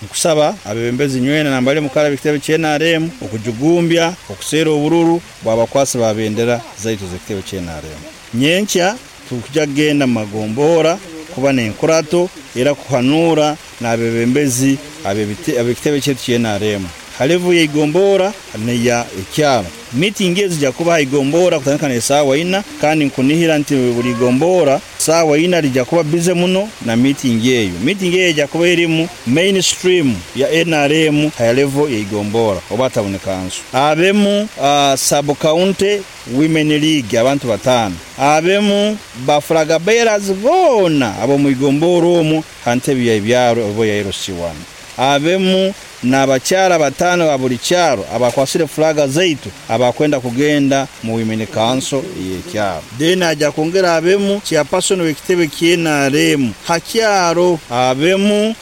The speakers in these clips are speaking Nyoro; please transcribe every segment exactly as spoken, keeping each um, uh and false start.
Nkusaba abebembezi nywena nambale mukara b'ekitebe kya N R M okujugumbya okuseera obururu bwabakwasi ba bendera zaitu z'ekitebe kya N R M. Nyenkya tukujja kugenda mu magombora kuba n'enkurato era kuhanura n'abebembezi ab'ekitebe kyaitu kya N R M. Halevu ya igombora neya ekyaro. Meeting ezi zijja kuba igombora kutandika n'esaawa ina, kandi nkunihira nti buli igombora saawa ina lijja kuba busy muno na meeting eyo. Meeting eyo ejja kuba erimu mainstream ya N R M high level ya igombora oba town council. Abemu uh, sub county women league abantu batano. Abemu ba flag bearers bona abo mu igombora omwo hantebe ya ebyaro obo ya L C one. Abemu n'abakyala batano ba buli kyaro abakwasire flaga zaitu abakwenda kugenda mu women council y'ekyaro. Then aja kwongera abemu chairperson w'ekitebe kya N R M hakyaro, abemu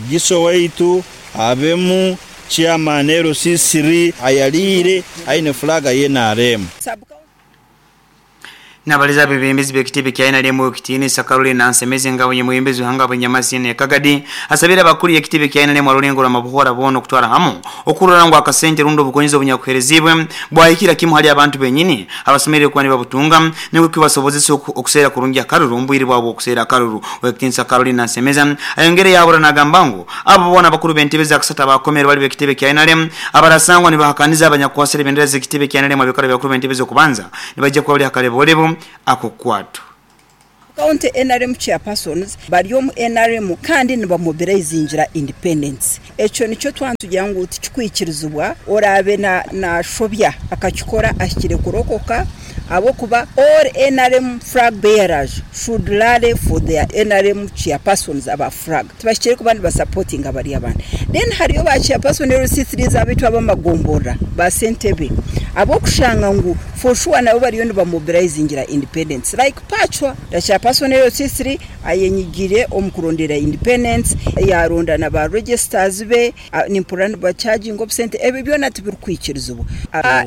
giso waitu, abemu chairman L C three ayalire aine flaga ya N R M. Nabaliza bebembezi b'ekitebe kya N R M ekitiinisa Caroline Nansemeze nga bwe hanga bwe ne Kagadi asabira abakulu ekitebe kya N R M alulengo lwa mabuhora bono okutwara hamu okurora ngo akasente rundo obukonyizo obunyakuherezibwe bwahikira kimu hali abantu benyini abasomerere kuba nibabutunga nibwo kibasobozesa okuseera kurungi akaruru mbwiri bwabo okuseera akaruru. Ekitiinisa Caroline Nansemeze ayongere yabura nagamba ngu abo bona abakuru b'entebe za kasata bakomere bali b'ekitebe kya N R M abarasangwa nibahakaniza abanyakwasira ebendera z'ekitebe kya N R M abikora byakuru b'entebe z'okubanza nibajja kuba bali hakalebolebu ako kwatu. County N R M chairpersons bari omu N R M kandi nibamobilizingira independence. Ekyo nikyo twantugira ngu tikikwikirizibwa orabe na na shobya akakikora ahikire kurokoka abokuba all N R M flag bearers should rally for their N R M chairpersons aba flag. Tibashikire kuba niba supporting abari abandi. Then hariyo ba chairperson L C three zabitu abamagombora ba Sentebe abokushanga ngu for sure nabo bariyo nibamobilizingira independence like Pachwa the chairperson L C three ayenyigire omukurondera independence yaronda na ba registers be nimpura ba charging of cent ebyo byona tibirikwikirizibwa.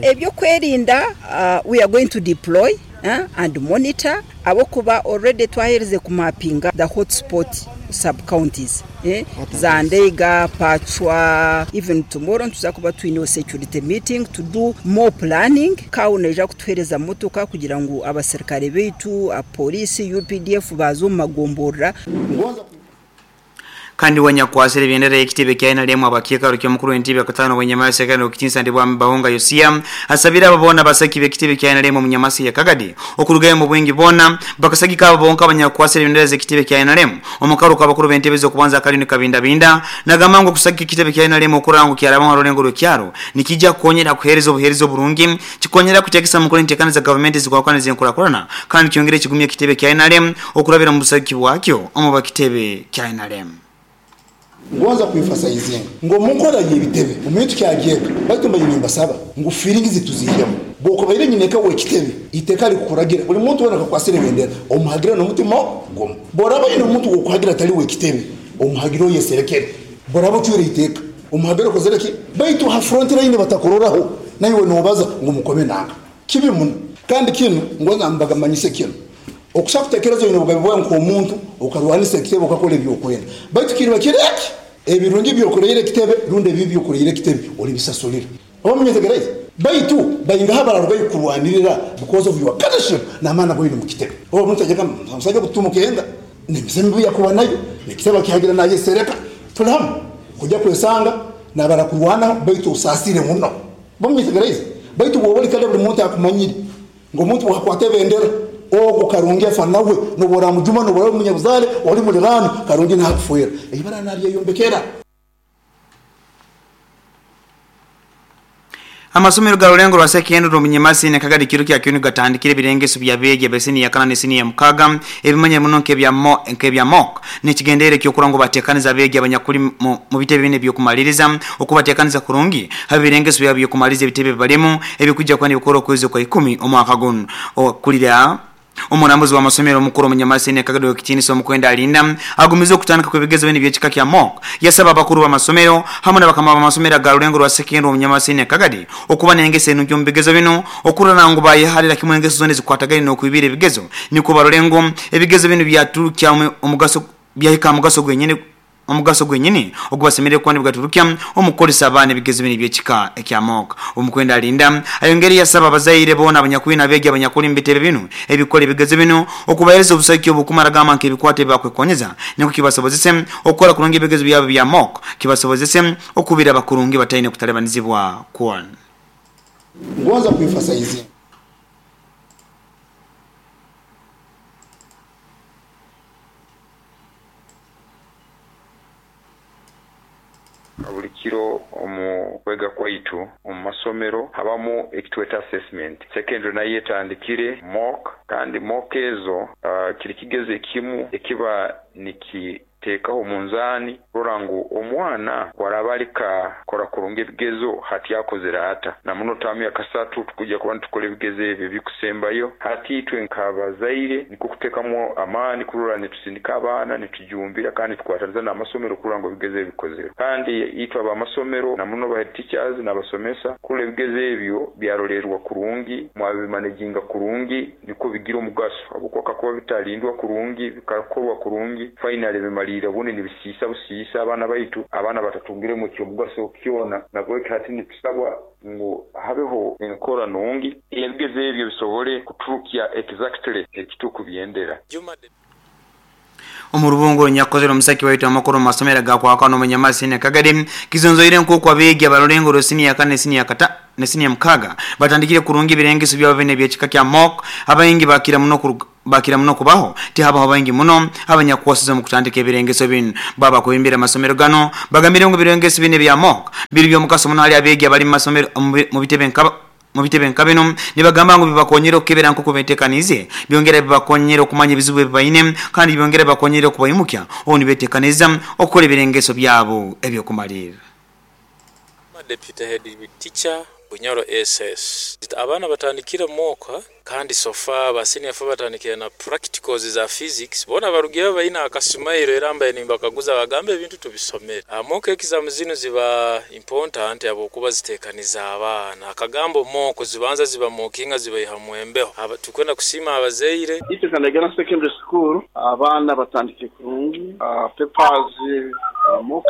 Ebyo kwerinda uh, we are going to deploy uh, and monitor abokuba already twahereze kumapinga the hotspot sub counties eh? Zandega, Pachwa. Even tomorrow tuza kuba twine security meeting to do more planning. Kauna kutuhereza motoka kugira ngu abaserikare beitu, apolisi, U P D F bazo magombora. Kandi wanyakwasire bendera y'ekitebe kya N R M abakiika rukyo mukuru w'entebe akatano wenyamasi kandi okitinsa ndibwa Bahunga Yosia asabira ababona basaki b'ekitebe kya N R M mu nyamasi ya Kagadi okurugayo mu bwingi bona bakasagika ababonka abanyakwasire bendera z'ekitebe kya N R M omukaruka abakuru b'entebe z'okubanza Kalini Kabinda Binda nagamba ngo kusagika ekitebe kya N R M okurango kyaraba rulengo rw'ekyaro nikijja kukonyera kuhereza obuhereza oburungi kikonyera kutekesa mukuru entekana za government zikwakwana zenkurakurana kandi kyongere kigumya ekitebe kya N R M okurabira mu busagiki bwakyo omu bakitebe kya N R M. Ngoza kuemphasizinga ngo munkora yebitebe umuntu kyageka batumba yimba saba ngo feelings zituzihemo boko baire nyineka we kitebe iteka likukuragira buli muntu wena akakwasire bendera omuhagira no mutima gomo boraba yino muntu gokuhagira atali we kitebe omuhagiro yeserekere boraba cyure iteka omuhagiro kozereki baitu ha front line batakororaho nayo nobaza ngo mukome nanga kibi muno kandi kino ngoza mbagamanyise kino okusa kutekereza yino bugabe bwa nko omuntu okarwanisa kitebe okakola ebyokwenda baitu kirwa kireki ebirungi byokoreire kitebe runde bibi byokoreire kitebe oli bisasulira omunyetegereza baitu bayinga bararugayo kurwanirira because of your leadership na maana goyino mu kitebe omuntu ajeka musajja kutumuka nemisembi yakuba nayo nekitebe kihagira naye sereka tulamu kujja kwesanga nabarakurwana baitu usasire muno bomunyetegereza baitu bwoboli kale buli muntu akumanyire ngo muntu wakwate bendera ogo karungi afa nawe nobora mujuma nobora munyabuzale oli mulirano karungi nakufuera ibara naliye yombekera. Amasomero ga Rulengo lwa sekendro munyamasi ne Kagadi kiro kya kyunu gatandikire birengeso bya bege besini ya kana nesini ya mukaga ebimanya muno nkebya mo nkebya mok nekigendere kyo kurango batekaniza bege abanyakuli mu bitebe bine byokumaliriza okubatekaniza kurungi habe birengeso bya byokumaliriza bitebe balemu ebikujja kwani bikoro kwezi kwa ikumi omwaka guno okulira omurambuzi wa masomero mukuru munyamasi ne Kagadi okitini mukwenda alinda agumiza okutandika kwebigezo bene byekika kya mok yasaba abakuru ba masomero hamwe n'abakama ba masomero ga Rulengo lwa sekendro munyamasi ne Kagadi okuba nengese eno mbigezo bino okurana ngo bayiharira kimwe engeso zone zikwatagane no kwibira ebigezo niko barulengo ebigezo bino byaturukya omugaso byahika omugaso gwenyene omugaso gwenyini ogubasemerere kuba nibagaturukya omukukozesa abaana ebigezo bino ebyekika ekya mock. Omukwenda alinda ayongere yasaba abazaire boona abanyakwina abeegi abanyakuli mu bitebe bino ebikola ebigezo bino okubahereza obusaiki obukumara gamba nk'ebikwata ebibakwekonyeza niko kibasobozese okukora kurungi ebigezo byabo bya mock, kibasobozese okubira abakurungi bataine kutalebanizibwa kwona. Ngonza kuemphasize buli kiro omu kwega kwaitu omu masomero habamu ekitweta assessment. Secondary nayo etandikire mock, kandi mock ezo uh, kiri kigezo ekimu ekiba niki tekaho munzani rora ngu omwana warabalika kora kurunga ebigezo hati yakozera ata na muno tamu ya kasatu tukujja kuba ntukole ebigezo ebyo bikusembayo. Hati itwe nkabazaire niko kutekamu amani kurora nitusindika abaana nitujumbira kandi tukwataniza n'amasomero kurora ngu ebigezo ebikozere, kandi itwe abamasomero na muno ba teachers n'abasomesa kurora ebigezo ebyo byarolerwa kurungi mwabimanejinga kurungi niko bigira omugaso abukoka kuba bitalindwa kurungi bikakorwa kurungi finally bimali ubundi nibisisa busisa abana baitu abana batatungire mu kyomugaso kyona. Nabwo hati nitusabwa ngu habeho enkora nungi ebigezo ebyo bisobole kuturukya exactly ekituku byendera. Omurubungo nyakozero omusaki waitu amakuru masomero gakwaka n'omunyamasi ne Kagadi kizonzoire nk'oku abeegi abarulengo rosini ya kane sini ya kata ne sini ya mukaga batandikire kurungi ebirengeso byabo bine ebyekika kya mock. Abaingi bakira muno kuruga bakira muno kubaho tihabaho baingi muno abanyakuwasiza mu kutandika ebirengeso bino. Baba kubimbira amasomero gano bagambire ngu ebirengeso bine bya mock biri by'omukaso muno hali abeegi abali mu masomero mu bitebe nkaba mu bitebe nka bino nibagamba ngu bibakonyera okukebera nk'oku beteekanize, byongera bibakonyera okumanya ebizibu ebibaine kandi byongera bibakonyera okubayimukya obu nibeteekaniza okukola ebirengeso byabo ebyokumalirira. Deputy Head Teacher Bunyoro S S. Abaana batandikire moka kandi sofa ba senior four batandikire na practicals za physics bona barugiye bayina akasumairo era mbaye nimbakaguza bagambe ebintu tubisomere. Mock exam zino ziba important abo kuba zitekaniza abaana akagambo mock zibanza ziba mokinga zibayiha mwembeho. Tukwenda kusima abazeire ite kanagana secondary school abaana batandikire kurungi uh, papers uh, mocks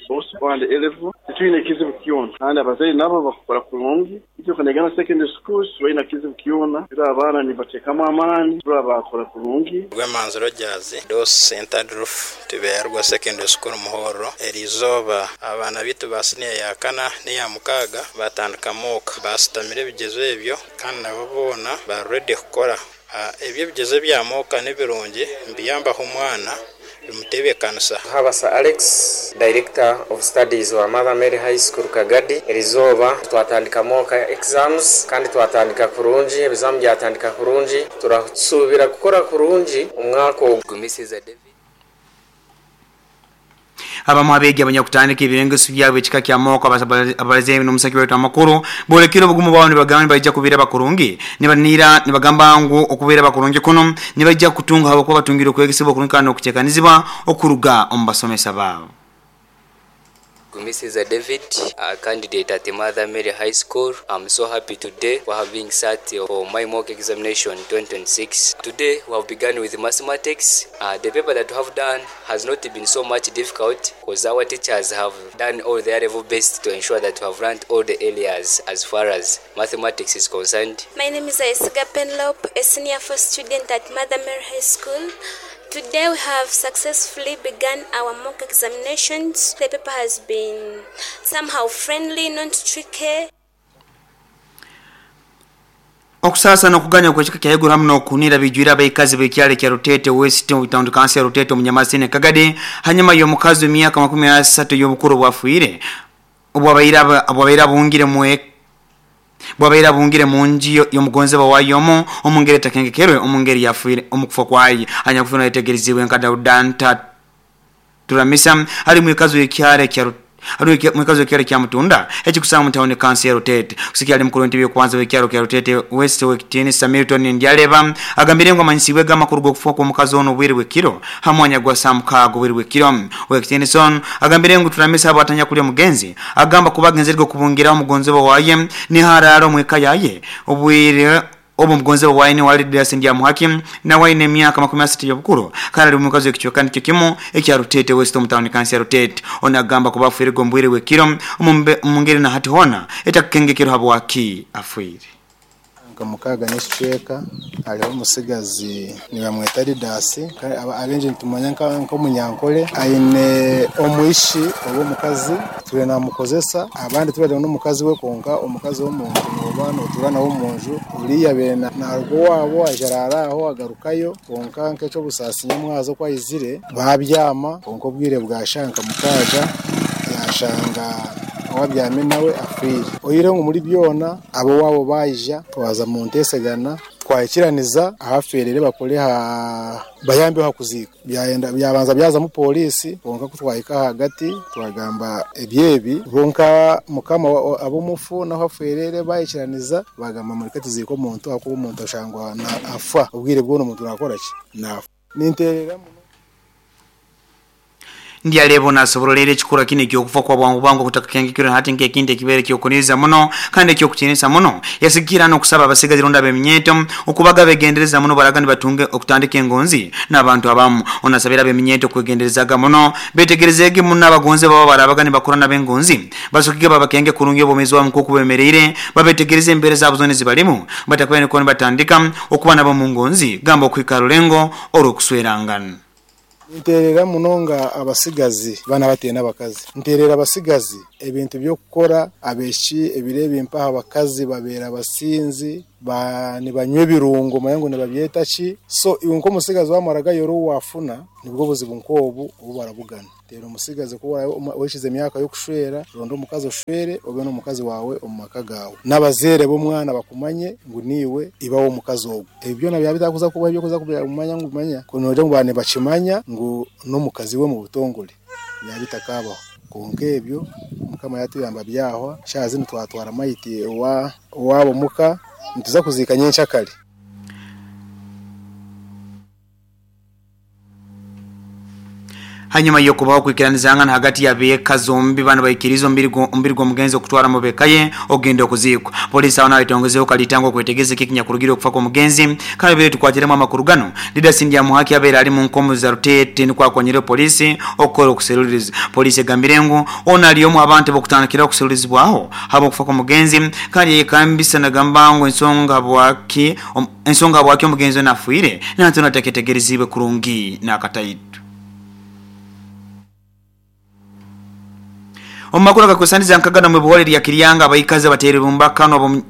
both and eleven twine kizibu kyona kandi abazeire nabo bakora kurungi. Ite kanagana secondary school twine kizibu kyona era abaana nibatekamo amani rwa bakora kurungi. Rwemanziro Jazi dos center roof tiberwa secondary school Muhoro erizoba abaana bitu basiniya ya kana niya mukaga batandika mock basitamire ebigezo ebyo kandi nabo bona ba ready kukora ebyo bigezo bya mock n'ebirungi mbiyambaho omwana bimutebekanisa. Habasa Alex, Director of Studies wa Mother Mary High School Kagadi, erizoba twatandika mock exams kandi twatandika kurungi ebizamu byatandika kurungi turasubira gukora kurungi umwaka ogumisiza David. Abamu abeegi abanyakutandika ebirengeso byabwe ekika kya mock abaleze n'omusaki waitu amakuru bolekere obugumu bwabo nibagamba nibajja kubeera bakurungi nibanira nibagamba ngu okubeera bakurungi kuno nibajja kutunga habwokuba batungire okwegesebwa okurungi kandi n'okuteekanizibwa okuruga omu basomesa baabo. Missus David, a candidate at Mother Mary High School. I'm so happy today for having sat for my mock examination twenty twenty-six. Today we have begun with mathematics. Uh, the paper that we have done has not been so much difficult because our teachers have done all their level best to ensure that we have learned all the areas as far as mathematics is concerned. My name is Aisiga Penlop, a senior four student at Mother Mary High School. Today we have successfully begun our mock examinations. The paper has been somehow friendly, not tricky. Okusasa n'okuganya okwekika kya Iguru hamu n'okunira bijwira abaikazi b'ekyalo kya Rutete West Town Council ya Rutete omunyamasine Kagadi hanyuma y'omukazi w'emyaka makumi asatu y'obukuru bwafiire obwabaire obwabaire bungire mwe bwabaire bungire mu nji y'omugonzebwa wayomo omungeri takengekerwe omungeri yafiire omukufa kwaye anyakufuna yetegerezibwe nka Daudanta Turamisa ali mwikazi w'ekyalo kya Ari mwikazi w'ekyalo kya Mutunda ekikusanga mu town council ya Rutete kusikia ali mukuru ntebe kwanza w'ekyalo kya Rutete West Wekitini Samilton Ndyaleba agambire ngo amanyisibwe gamakuru g'okufa kw'omukazi ono obwire bw'ekiro hamwanya gwa Samukago obwire bw'ekiro Wekitini son agambire ngo Turamisa abo atanya kulya mugenzi agamba kubagenzerwe kubungiraho omugonzebwa waye ni hararo mweka yaye obwire obu mugonze waine wali Didasi Ndyamuhaki na waine emyaka makumi asatu y'obukuru kandi ali mukazi w'ekicweka nikyo kimu ekya Rutete West omu tawuni kansi ya Rutete. Ono agamba kuba afiire gombwire bw'ekiro omu ngeri na hati hona etakukengekero habwaki afiire. Nka mukaga n'ekicweka hariho omusigazi nibamweta Didasi, abengi nitumanya nk'omunyankole, aine omwishi oba omukazi tube namukozesa, abandi tubari n'omukazi we, konka omukazi w'omuntu noba notura nawe omunju uriya bene narugo wabo ajarara aho agarukayo, konka nk'ekyobusaasi nyamwazo kwayizire babyama, konka obwire bwashanka mukaga yashanga wabyame nawe afiire. Oyire ngu muri byona abo wabo bayija twaza mu ntesegana twayikiraniza ahaferere bakore ha bayambe hakuzika byayenda byabanza byaza mu polisi, konka kutwayika hagati twagamba ebyebi bonka mukama abo mufu naho aferere bayikiraniza bagamba muri katuziko omuntu akuba omuntu ashangwa na afa obwire bwono omuntu nakora ki nafa ninterera. Ndialebo nasoborolere ekikura kino ekyokufa kwa bwangu bwangu kutakakengekero hati nk'ekindi ekibere kyokuniza muno kandi ekyokutinisa muno. Yasikira n'okusaba abasigazi ronda b'eminyeto okubaga begendereza muno baraga nibatunge okutandika engonzi n'abantu abamu. Onasabira ab'eminyeto kwegenderezaga muno betegerezege muno abagonzi baba barabaga nibakora n'abengonzi basukige babakenge kurungi obomezi bwamu nk'oku bemereire babetegereze embere zabo zone zibalimu batakwene ko nibatandika okuba nabo mu ngonzi gamba okwikara rulengo olw'okuswerangana. Nterera munonga abasigazi bana batena abakazi, nterera abasigazi ebintu byokukora abeshi ebirebe mpaha abakazi babera abasinzi ba nibanywe ebirungo mayango nibabyeta ki, so iwe nko musigazi wamaraga yoro wafuna nibwo buzibu nkobu obu barabugana. Tero musigazi ko weshize emyaka yo kushwera rondo omukazi oshwere obe n'omukazi wawe omu maka gawe n'abazere b'omwana bakumanye ngu niwe ibawo omukazi ogwo. Ebyo byona byabitakuza kuba ebyo kuza kumanya ngu manya kunoje ngu bane bakimanya ngu n'omukazi we mu butongole byabitakabaho. Konka ebyo mukama yatuyamba byahwa shazi nitwatwara mayiti wa wabo muka nituza kuzika nyenshakali. Hanyuma yokubaho kwikiranizangana hagati ya beka zombi bana bayikirizo mbiri mbiri gwa mugenzi okutwara mu bekaye ogenda okuzikwa. Polisi aho nayo itongezeho kalitango kwetegeze kikinya kurugira okufa kwa mugenzi kandi bere tukwatiremo amakuru gano. Didasi Ndyamuhaki abera ali mu nkomo za Rutete nikwa kwanyire polisi okora okuseruliriza. Polisi egambire ngu ona aliyomu abantu bokutandikira okuserulirizibwaho habo okufa kwa mugenzi kandi yekambisa nagamba ngu ensonga bwaki ensonga bwaki omugenzi nafuire nantu nateketegerezibwe kurungi nakataitu. Omakuru akakusaniza nkagana mu buhole lya Kiryanga abayikaze batere bumbakano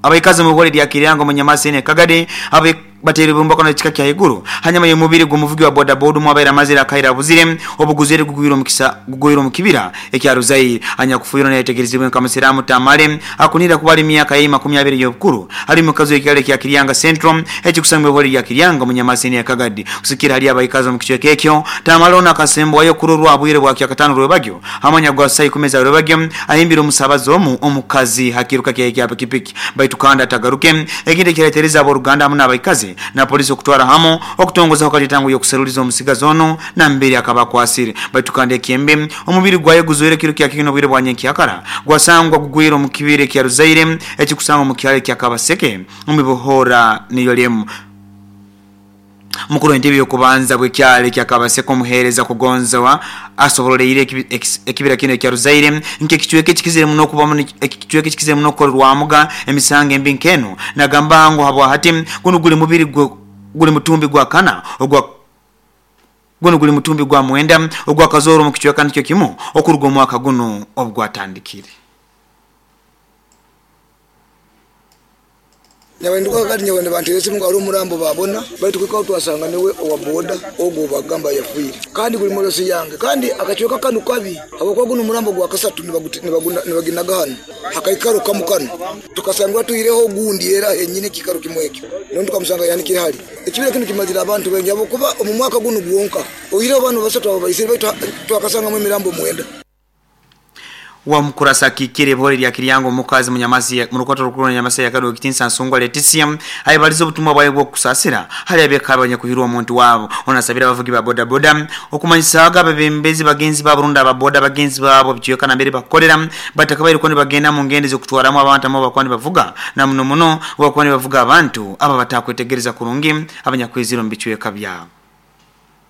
abayikaze mu buhole lya Kiryanga mu Nyamasene Kagade abe batere bumbakano ekika kya iguru hanyuma y'omubiri gw'omuvugi wa boda boda mwabaira mazira akaira buzire obuguzere gugwiro mukisa gugwiro mukibira ekya Ruzairi anya kufuira nayetegerezibwe nka Musiramu Tamale akunira kubali myaka ya makumi abiri y'obukuru ali mukazi w'ekyalo kya Kiryanga Central ekikusangwa buhole lya Kiryanga mu Nyamasene ya Kagadi kusikira hali abayikaze mu kichweka ekyo Tamale ona akasembwayo kurorwa abwire bwa kyakatano rwebagyo amanya gwa sai kumeza rwebagyo ahimbira omusabazo omu omukazi hakiruka kya kya pikipiki baitu kanda atagaruke ekindi kiretereza aboruganda hamwe n'abayikaze na polisi okutwara hamo okutongoza okalitango yokuseruliza omusigazi ono na mbere akabakwasire baitu kande kyembe omubiri gwaye guzoire kiro kya kino bwire bwanye kyakara gwasangwa gugwiro mu kibire kya Ruzaire ekikusangwa mu kyalo kya Kabaseke omubibohora niyo lemu. Mukuru entebe yokubanza bwekyale kya Kabaseke omuhereza kugonzawa asoboleire ekibira kino kya Ruzaire nke kichweke kikizire muno kuba muno ekichweke kikizire muno korwamuga emisango embi nkeno nagamba ngo habwa hati kuno guli mubiri guli mutumbi gwa kana ogwa guno guli mutumbi gwa mwenda ogwa kazoro mu kichweka nikyo kimu okuruga omwaka guno obwatandikire. Nyawenduka kati nyawende bantu yesi mungu murambo babona baitu kwikao twasanga niwe owa boda ogo bagamba yafuire kandi kuli molosi yange kandi akachweka kanu kabi habwokuba guno murambo gwa kasatu nibaginaga hano hakaikaro kamukano tukasangwa tuireho gundi era enyine kikaro kimwekyo nondo tukamusanga yani kiri hali ekibira kino kimazira abantu bengi habwokuba omu mwaka guno gwonka oireho bano basatu abo baisire baitu twakasanga mu mirambo mwenda. Wa mukurasa akikire ebihore lya Kiryango omukazi munyamasi mu rukoto rukuru Nyamasi yakado ekitinsa Nsungwa Leticia ayibaliza obutumwa bwayo bw'okusasira hali abeka abanyakuhirwa omuntu wabo. Onasabira abavugi ba boda boda okumanyisaga abebembezi bagenzi ba Burundi aba boda bagenzi babo bicweka na mbere bakolera batakabaire ko bagenda mu ngendo z'okutwaramu abantu abo bakwani bavuga na muno muno bakwani bavuga abantu aba batakwetegereza kurungi abanyakwiziro mu bicweka byabo.